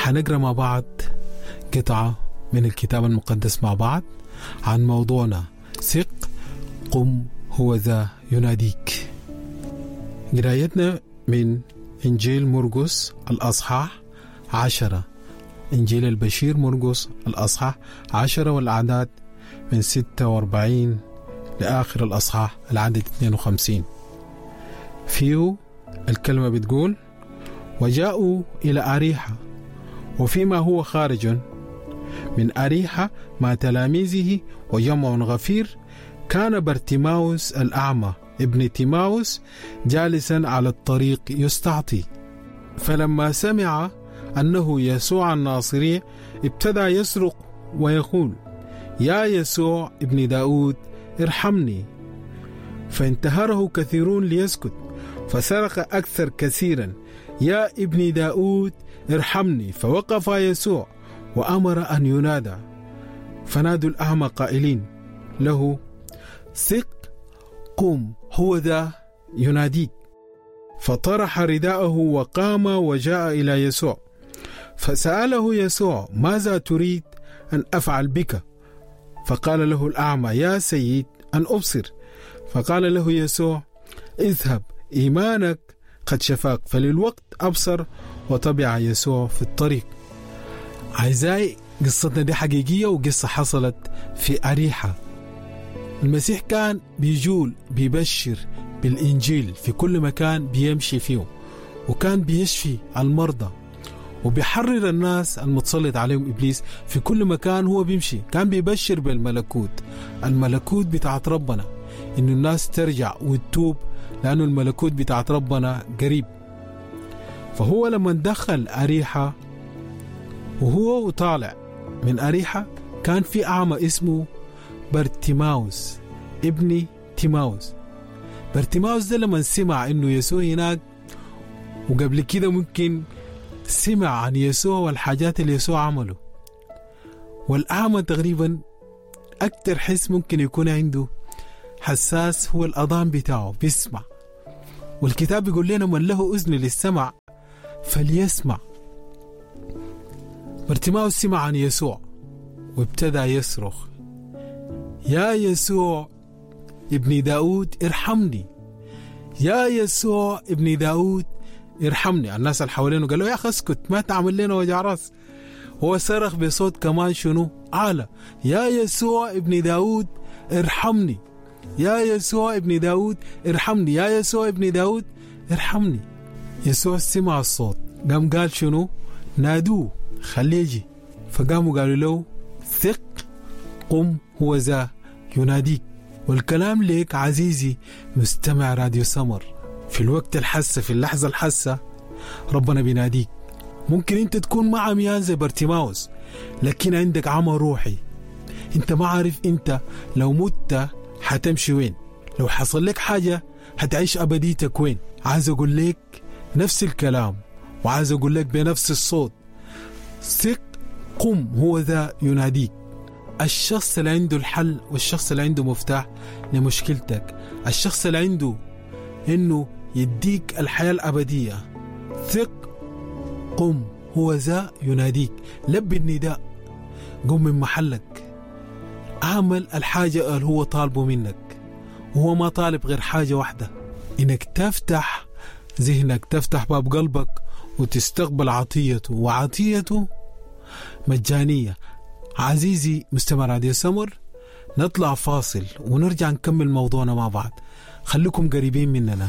حنقرأ مع بعض قطعة من الكتاب المقدس مع بعض عن موضوعنا ثق قم هو ذا يناديك. قرايتنا من إنجيل مرقس الأصحاح 10، إنجيل البشير مرقس الأصحاح 10 والأعداد من 46 لآخر الأصحاح العدد 52. فيه الكلمة بتقول: وجاءوا إلى أريحة، وفيما هو خارج من أريحة مع تلاميذه وجمع غفير، كان برتيماوس الأعمى ابن تيماوس جالسا على الطريق يستعطي. فلما سمع أنه يسوع الناصري ابتدى يصرخ ويقول: يا يسوع ابن داود ارحمني. فانتهره كثيرون ليسكت، فصرخ أكثر كثيرا: يا ابن داود ارحمني. فوقف يسوع وأمر أن ينادى، فنادوا الأعمى قائلين له: ثق، قم، هو ذا يناديك. فطرح رداءه وقام وجاء إلى يسوع. فسأله يسوع: ماذا تريد أن أفعل بك؟ فقال له الأعمى: يا سيد، أن أبصر. فقال له يسوع: اذهب، إيمانك قد شفاك. فللوقت أبصر وتبع يسوع في الطريق. أعزائي، قصتنا دي حقيقية وقصة حصلت في أريحة. المسيح كان بيجول بيبشر بالإنجيل في كل مكان بيمشي فيه، وكان بيشفي المرضى وبيحرر الناس المتسلط عليهم إبليس في كل مكان هو بيمشي. كان بيبشر بالملكوت، الملكوت بتاعت ربنا، إنه الناس ترجع وتتوب لأنه الملكوت بتاعت ربنا قريب. فهو لما دخل أريحة وهو طالع من أريحة كان في أعمى اسمه برتيماوس ابن تيماوس. برتيماوس ده لما سمع إنه يسوع هناك، وقبل كده ممكن سمع عن يسوع والحاجات اللي يسوع عمله، والأعمى تقريبا أكتر حس ممكن يكون عنده حساس هو الأذان بتاعه، بيسمع. والكتاب بيقول لنا من له أذن للسمع فليسمع. برتيماوس سمع عن يسوع وابتدى يصرخ: يا يسوع ابن داود ارحمني، يا يسوع ابن داود ارحمني. الناس اللي حوالينه قالوا: يا أخي اسكت، ما تعمل لنا وجع راس. هو صرخ بصوت كمان شنو أعلى: يا يسوع ابن داود ارحمني، يا يسوع ابن داود ارحمني، يا يسوع ابن داود ارحمني. يسوع سمع الصوت، قام قال شنو؟ نادوه خليه يجي. فقاموا قالوا له: ثق، قم، هو ذا يناديك. والكلام ليك عزيزي مستمع راديو سمر، في الوقت الحسة، في اللحظة الحسة، ربنا بيناديك. ممكن انت تكون مع عميان زي برتيماوس، لكن عندك عمى روحي، انت ما عارف انت لو مت حتمشي وين، لو حصل لك حاجة هتعيش أبديتك وين. عايز أقول لك نفس الكلام، وعايز أقول لك بنفس الصوت: ثق، قم، هو ذا يناديك. الشخص اللي عنده الحل والشخص اللي عنده مفتاح لمشكلتك، الشخص اللي عنده إنه يديك الحياة الأبدية، ثق، قم، هو ذا يناديك. لبي النداء، قم من محلك، اعمل الحاجة اللي هو طالبه منك. وهو ما طالب غير حاجة واحدة، إنك تفتح ذهنك، تفتح باب قلبك وتستقبل عطيته، وعطيته مجانية. عزيزي مستمع راديو سمر، نطلع فاصل ونرجع نكمل موضوعنا مع بعض. خليكم قريبين مننا.